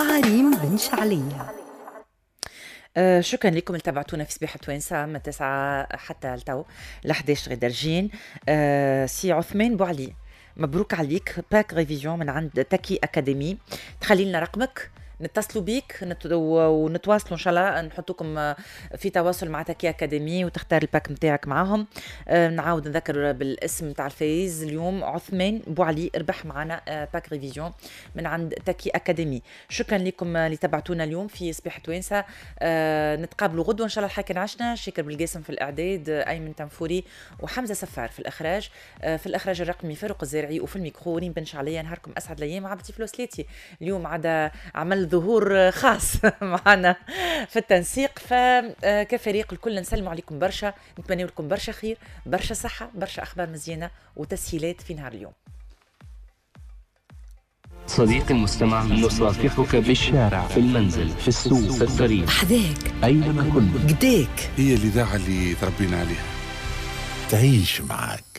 مع ريم بن شعلية. شكرا لكم اللي تابعتونا في صباح التوانسة من 9 حتى لتو ل 11 غير درجين. سي عثمان بوعلي، مبروك عليك pack révision من عند تاكي اكاديمي. تخلي لنا رقمك نتصلوا بيك ونتواصلوا ان شاء الله، نحطوكم في تواصل مع تاكي اكاديمي وتختار ال pack نتاعك معاهم. نعاود نذكر بالاسم نتاع الفايز اليوم، عثمان بوعلي، ربح معنا pack révision من عند تاكي اكاديمي. شكرا لكم اللي تبعتونا اليوم في صباح توانسه. نتقابلوا غدوه ان شاء الله. الحاكم عشنا شاكر بالقاسم في الاعداد، ايمن تنفوري وحمزة سفار في الاخراج، في الاخراج الرقمي فاروق الزارعي، وفي الميكرو ريم بن شعليه. نهاركم اسعد الايام. عبد فلوسليتي اليوم عاد عمل ظهور خاص معنا في التنسيق. فكفريق الكل نسلموا عليكم برشا، نتمنى لكم برشا خير، برشا صحة، برشا أخبار مزيانة وتسهيلات في نهار اليوم. صديقي المستمع، نصافحك بالشارع، في المنزل، في السوق، في الطريق، أحذاك، أينما كنت، قداك. هي الإذاعة اللي تربينا عليها، تعيش معك.